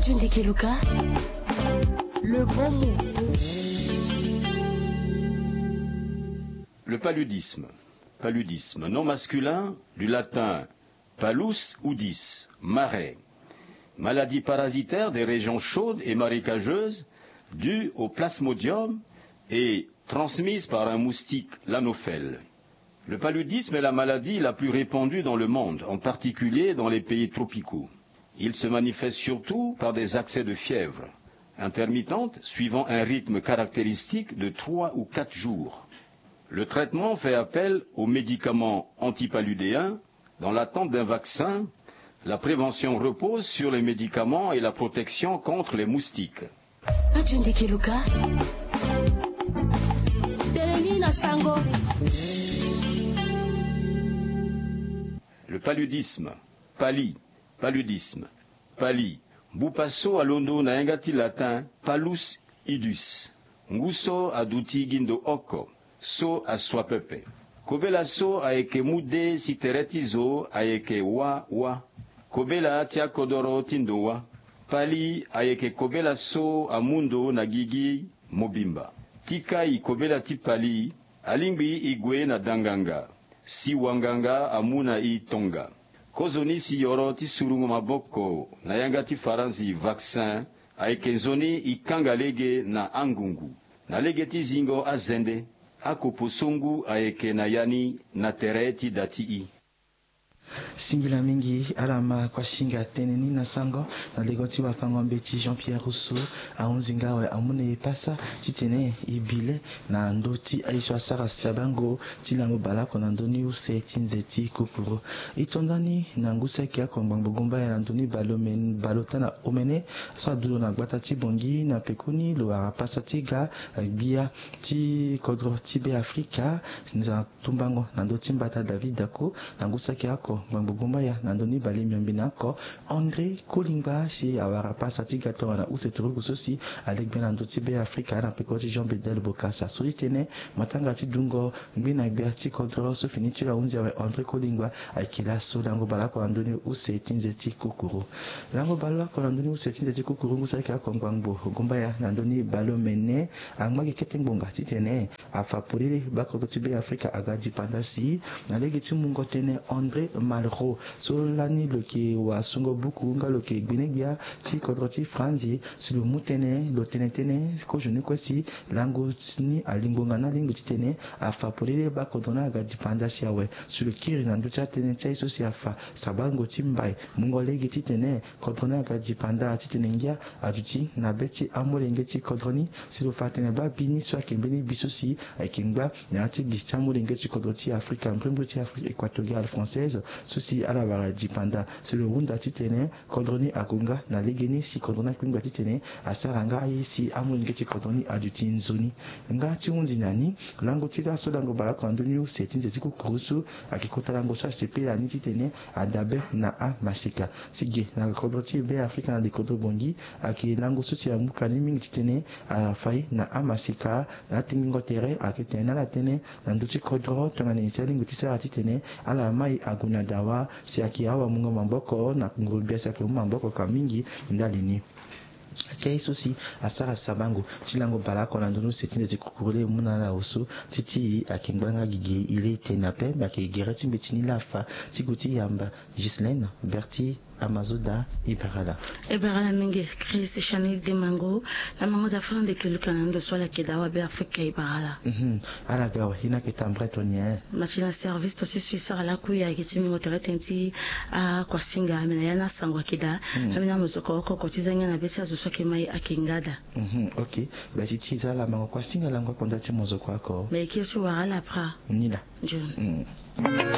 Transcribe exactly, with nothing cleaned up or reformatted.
Tunde Keluka, le bon mot. Le paludisme. Paludisme, nom masculin du latin palus udis, marais. Maladie parasitaire des régions chaudes et marécageuses due au plasmodium et transmise par un moustique, l'anophèle. Le paludisme est la maladie la plus répandue dans le monde, en particulier dans les pays tropicaux. Il se manifeste surtout par des accès de fièvre, intermittente, suivant un rythme caractéristique de trois ou quatre jours. Le traitement fait appel aux médicaments antipaludéens. Dans l'attente d'un vaccin, la prévention repose sur les médicaments et la protection contre les moustiques. Tunde Keluka, tene ni na sango. Le paludisme, pali, paludisme, pali, bupa so alondo na yanga ti latin palus idus. Ngu so aduti gi ndo oko, so asua pepe. Kobela so ayeke mu de si tere ti zo ayeke wa wa. Kobela ti akodoro ti ndo wa. Pali ayeke kobela so amu ndo na gigi mobimba. Ti kai kobela ti pali, alingbi e gue na danganga si wanganga amu na e tonga. Kozoni si yoro ti surungo maboko na yanga ti faranzi, vaccin, ayeke nzoni e kanga lege na angungu. Na lege ti zingo azende, akopo so ngu ayeke na ya ni na tere ti da ti e. Singila mingi ala ma kuasinga tënë ni na sango. Na lego ti wafango-mbeti Jean Pierre Rousseau ahunzi nga awe amu na e pasa titene e bi le na ndö ti aye so asara sabango ti lango baleoko na ndö ni use ti nze ti kukuru. E to ndani na ngu saki oko ngbangbo gumbaya na ndö ni baleomene, baleota na omene so adulo na gbata ti Bangui na pekoni lo wara pasa ti ga gbia ti kodro ti Beafrika. Nza tumbango na ndö ti mbata David Dacko na ngu saki oko ngbangbo gumbaya na ndö ni baleomene oko André Kolingba si awara pasa ti ga tongana use turugu so si ale gbia na ndö ti Beafrika na peko ti Jean Bedel Bokassa so ti tene matanga ti dungo ngbena gbia ti kodro so fini ti lo ahunzi awe André Kolingba ayeke laso lango baleoko na ndö ni use ti nze ti kukuru. Lango baleoko na ndö ni use ti nze ti kukuru ngu saki oko ngbangbo gumbaya na ndö ni baleomene angba gi kete ngbonga titene afa polele bakodro ti Beafrika aga dipanda si na lege ti mungo tënë André Malraux so lani lo yeke wasungo buku nga lo yeke gbene-gbia ti kodro ti Franzi si lo mu tënë lo tene tënë kozo ni kue si lango ni alingbo nga ni alingbi titene afa polele bakodro ni aga dipanda si awe si lo kiri na ndö ti atënë ti aye so si afa sabango ti mbai mungo lege titene kodro ni aga dipanda titene ngia aduti na be ti amolenge ti kodro ni si lo fa tene baa bi ni so ayeke mbeni bi so si ayeke ngba na ya ti gi ti amolenge ti kodro ti Afrika mbrimbri ti Afrique équatoriale française so si ala wara dipanda si lo hunda titene kodro ni ague nga na legeni si kodro ni akpengba titene asara nga aye si amolenge ti kodro ni aduti nzoni. Nga ti hunzi na ni lango ti laso lango baleoko na ndö ni use ti nze ti kukuru so ayeke kota lango so asepela ni titene adabe na amaseka. Si ge na kodro ti Beafrika na likodro Bangui ayeke lango so si amuka ni mingi titene afa ye na amaseka. Na atengbingo tere ayeke tene na ala tënë na ndö ti kodro tongana nyen si alingbi ti sara titene ala ma e ague na dawa si ayeke awamungo maboko na nguru-gbia si ayeke mu maboko ka mingi ndali ni. Ayeke ye so si asara sabango ti lango baleoko na ndö ni use ti nze ti kukuru laa e mu na ala oso ti ti e ayeke ngba nga gigi e laa e tene ape me ayeke gere ti mbeti ni laa afa ti gue ti yamba. Ghislaine Berthy Amazoda, e bara ala. E bara ala mingi Chris Chanel Demango. Na mango da fana ndeke luka na ndo so ala yeke daa wa Beafrika, e bara ala. Mhm. Ala ga awe, e na yeke tambure toni e. Ma ti na service to ti so e sara lakui ayeke ti mingo tere tënë ti akuasinga me na ya ni asango ayeke daa. Mhm. Ambeni amozoko oko oko ti za ngia na be ti azo so ayeke ma e ayeke nga daa. Mhm, ok. Be ti ti e za ala mango kuasinga lango oko nda ti mozoko oko. Me e kiri ti wara ala pra. Ni laa. Nzoni. Mhm.